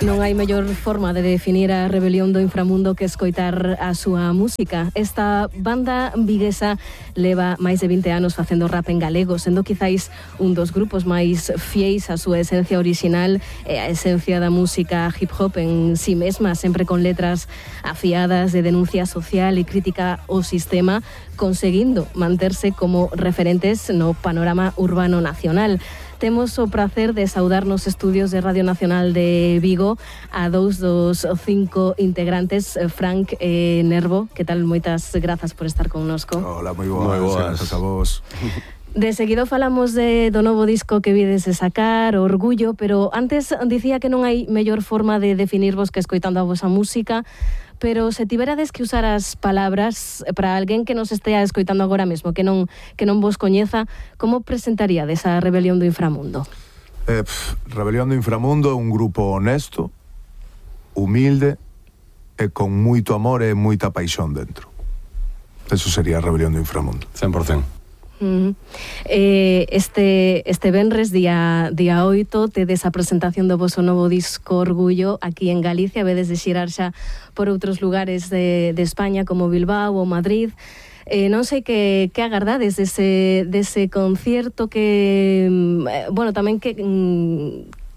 Non hai mellor forma de definir a rebelión do inframundo que escoitar a súa música. Esta banda viguesa leva máis de 20 anos facendo rap en galego, sendo quizáis un dos grupos máis fieis á súa esencia original e a esencia da música hip hop en si mesma, sempre con letras afiadas de denuncia social e crítica ao sistema, conseguindo manterse como referentes no panorama urbano nacional. Temos o prazer de saudar nos estudios de Radio Nacional de Vigo a dous dos 5 integrantes, Frank e Nervo. Que tal? Moitas grazas por estar connosco. Hola, moi boas. Grazas a vos. De seguido falamos do novo disco que vides de sacar, Orgullo, pero antes dicía que non hai mellor forma de definirvos que escoitando a vosa música. Pero se tiverades que usar as palabras para alguén que nos estea escoitando agora mesmo, que non vos coñeza, como presentaríades a Rebelión do Inframundo? Rebelión do Inframundo é un grupo honesto, humilde e con moito amor e moita paixón dentro. Eso sería a Rebelión do Inframundo. 100%. Este venres, día 8, tedes a presentación do voso novo disco Orgullo aquí en Galicia. Vedes de xirar xa por outros lugares de España como Bilbao ou Madrid. Non sei que agardades dese concierto, que tamén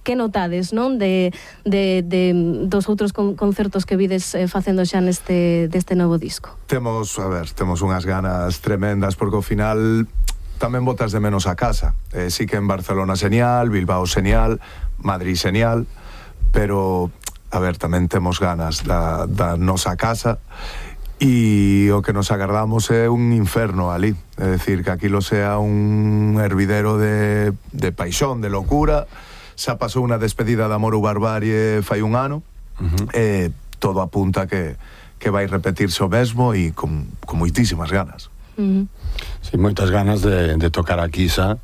que notades, non, dos outros concertos que vides facendo xa deste novo disco? Temos unhas ganas tremendas, porque ao final tamén botas de menos a casa. Sí que en Barcelona señal, Bilbao señal, Madrid señal, pero tamén temos ganas da nosa casa, e o que nos agardamos é un inferno ali, é dicir, que aquilo sea un hervidero de paixón, de locura. Xa pasou unha despedida de Amor ou Barbarie fai un ano, e todo apunta que vai repetirse o mesmo, e con moitísimas ganas. Sí, moitas ganas de tocar aquí xa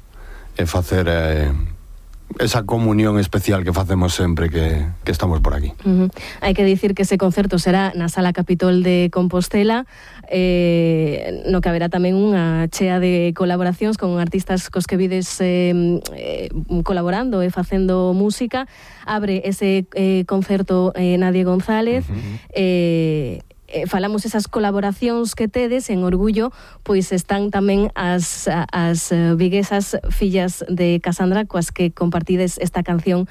e facer esa comunión especial que facemos sempre que estamos por aquí. Hai que dicir que ese concerto será na Sala Capitol de Compostela, no que haberá tamén unha chea de colaboracións con artistas cos que vides colaborando e facendo música. Abre ese concerto Nadie González, falamos esas colaboracións que tedes en Orgullo, pois están tamén as viguesas fillas de Casandra, coas que compartides esta canción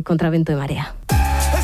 Contra Vento e Marea.